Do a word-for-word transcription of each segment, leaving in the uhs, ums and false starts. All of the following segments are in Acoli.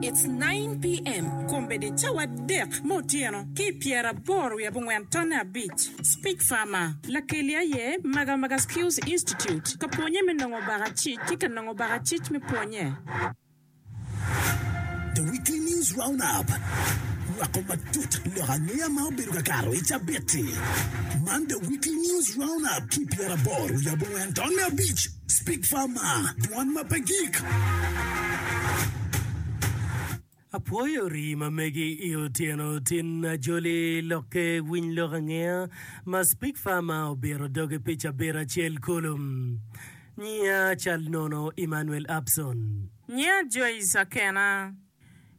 It's nine P M Kombeddi cawa adek me otyeno ki i pyeraboro wiye abongwen tonne abic. Speak Farmer lakeli aye Magamaga Skills Institute ka pwonye me nongo bakacic ki ka nongo bakacic me pwonye. The Weekly News Roundup. Nywako matut lok angeya ma obedo ka kato i cabit-ti. Man The Weekly News Roundup ki pyeraboro wiye abongwen tonne abic. Speak Farmer, dwan ma pe gik. Apwoyo rii ma megi i otyeno tin ajoli lokke winy lok angeya ma Speak Farmer obiro doge pi cabit acel kulu. Nyiya cal nono Emmanuel Abson. Nyiya Joyce Akena.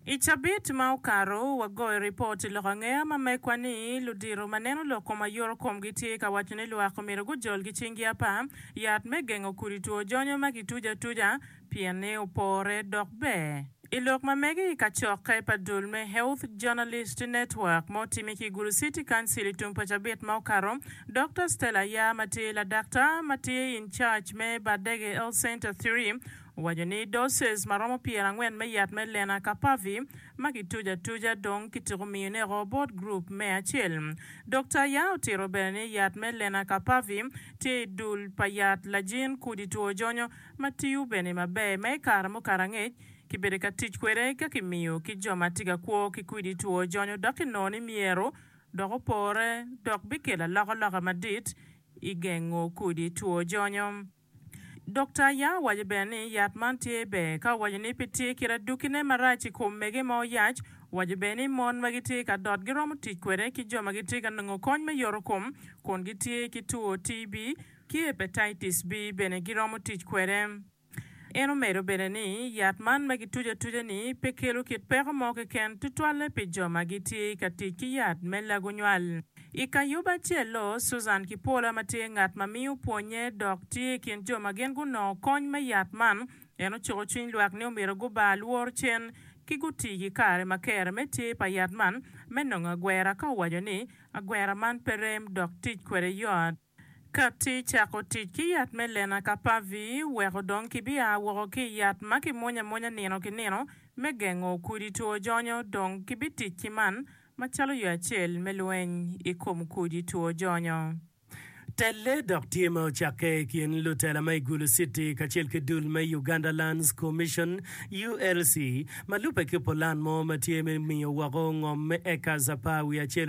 I cabit ma okato, wagoyo ripot i lok angeya ma mekwa ni ludito ma neno lok kom ayuto komgi tye ka waco ni lwak omyero gujol ki cinggi apar yat me gengo kudi two jonyo ma kituco atuca pien ni opore dok ber. I lok ma mege i kacokke pa dul me Health Journalist Network ma otime ki i Gulu City Council i tum pa cabit ma okato, Dokta Stella Aya ma tye ladaktar ma tye in charge me Bardege Health Center three owaco ni doses ma romo pyerangwen me yat me Lenacapavir ma kituco atuca dong kitiko miyone oko bot gurup me acel. Dokta Aya otito bene ni yat me Lenacapavir tye i dul pa yat lajin kudi two jonyo ma tiyo bene maber ma i kare mukato angec kibedo ka tic kwede ka kimiyo ki jo ma tye ka kwo ki kwidi two jonyo dok kinongo ni myero dok opore dok bikelo alokaloka madit i gengo kudi two jonyo. Dokta Aya owaco bene ni yat man tye ber ka owaco ni pe tye kit adukine marac i kom mege ma oyac. Owaco bene ni mon ma gitye ka dot giromo tic kwede ki jo ma gitye ka nongo kony me yoto kom kun gitye ki two T B ki Hepatitis B bene giromo tic kwede. En omedo bene ni yat man ma kituco atuca-ni pe kelo kit peko mo keken tutwalle pi jo ma gitye ka tic ki yat me lago nywal. I ka yub acel-lu, Susan Kipwola ma tye ngat ma miyo pwonnye dok tye i kin jo ma gin gunongo kony me yat man, en ocuko cwiny lwak ni omyero gubar lworo cen ki guti ki kare ma kere me tye pa yat man me nongo agwera ka owaco ni agwera man pe rem dok tic kwede yot. Kati cako tic ki yat me Lenacapavir weko dong kibia woko ki i yat ma kimwonyo amwonya nino ki nino me gengo kudi two jonyo dong kibitic ki man macalo yo acel me lweny i kom kudi two jonyo. Telle dok tye ma ocakke i kin lutela ma i Gulu City kacel ki dul me Uganda Lands Commission, U L C, ma lubbe ki pulan mo ma tye me miyo woko ngom me acres apar wiye acel.